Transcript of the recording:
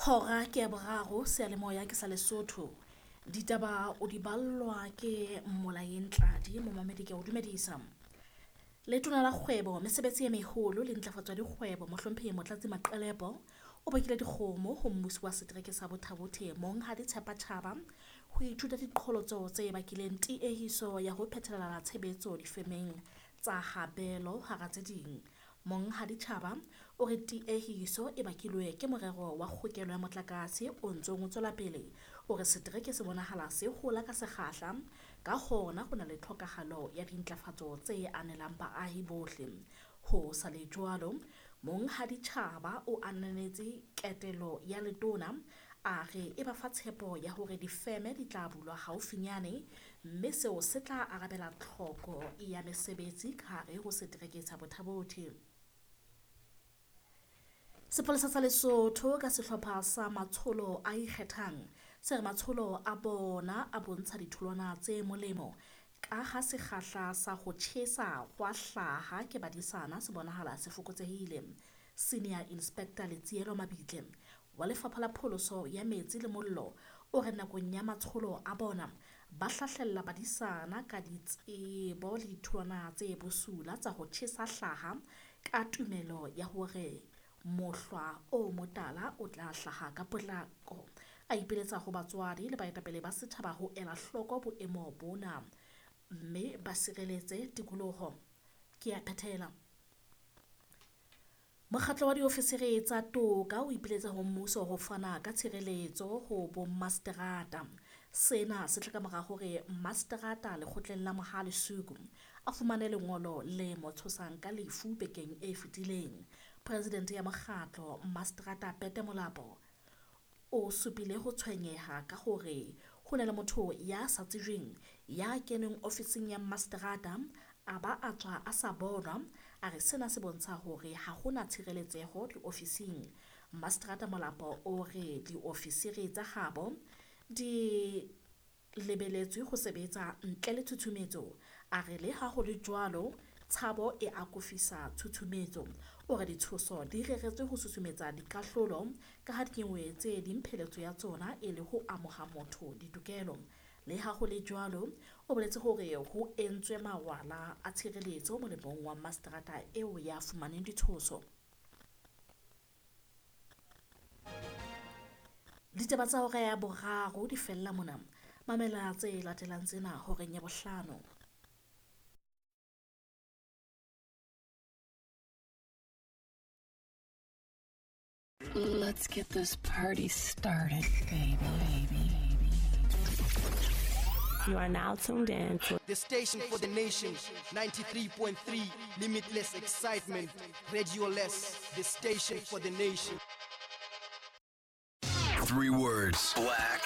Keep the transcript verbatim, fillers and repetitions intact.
Hora ke ya boraro seyalemoya ke sa Lesotho. Ditaba o di ballwa ke Molaeng Tladi momamedi ke o dumedisa. Letona la kgwebo, mesebetsi e meholo le ntlafatso ya dikgwebo mohlomphehi Motlatsi Maqelepo o bakile dikgomo ho mmusi wa setereke sa Botha-Bothe Monghadi Tshepa Tjhaba ho ithuta diqholotso tse bakileng tiehiso ya ho phethela tshebetso difemeng tsa habelo hara tse ding. Monghadi Tjhaba o re tiehiso e bakilwe ke morero wa kgokelo ya motlakase o ntsong o tswela pele. O re setereke se bonahala se hola ka sekgahla, ka hona ho na le tlhokahalo ya dintlafatso tse anelang baahi bohle. Ho sa le jwalo, Monghadi Tjhaba o ananetse ketelo ya letona, a re e ba fa tshepo ya hore difeme di tla bulwa haufinyane mme seo se tla arabela tlhoko ya mesebetsi ka hare ho setereke sa Botha-Bothe. Sepolesa sa Lesotho ka sehlopha sa matsholo a ikgethang se re matsholo a bona a bontsha ditholwana tse molemo ka ha sekgahla sa ho tjhesa hwa hlaha ke badisana se bonahala se fokotsehile. Senior Inspector Letsielo Mabitle wa Lefapha la Pholoso ya Metsi le Mollo o re nakong ya matsholo a bona ba hlahlella badisana ka ditsebo le ditholwana tse bosula tsa ho tjhesa hlaha ka tumelo ya hore mohlwa o motala o tla hlaha ka potlako. A ipiletsa ho batswadi le baetapele ba setjhaba ho ela hloko boemo bona mme ba sireletse tikoloho. Ke a phethela. Mokgatlo wa diofisiri tsa toka o ipiletsa ho mmuso ho fana ka tshireletso ho bommaseterata. Sena se tla ka mora hore mmaseterata lekgotleng la Mohale's Hoek a fumane lengolo le mo tshosang ka lefu bekeng e fetileng. Presidente ya mokgatlo mmaseterata Pete Molapo o supile ho tshwenyeha ka hore ho na le motho ya sa tsejweng ya keneng ofising ya mmaseterata a ba a tswa a sa bonwa. A re sena se bontsha hore ha hona tshireletseho diofising. Mmaseterata Molapo o re diofisiri tsa habo di lebeletswe ho sebetsa ntle le tshutshumetso. A re le ha ho le jwalo, tshabo e akofisa tshutshumetso. O re ditshoso di reretswe ho susumetsa dikahlolo ka ha dinyewe tse ding pheletso ya tsona e le ho amoha motho ditokelo. Le ha ho le jwalo, o boletse hore ho entswe mawala a tshireletso molemong wa mmaseterata eo ya fumaneng ditshoso. Ditaba tsa hora ya boraro di fella mona. Mamela tse latelang tsena horeng ya bohlano. Let's get this party started, baby, baby. You are now tuned in to the station for the nation, ninety-three point three, limitless excitement, Radio Less, the station for the nation. Three words: black,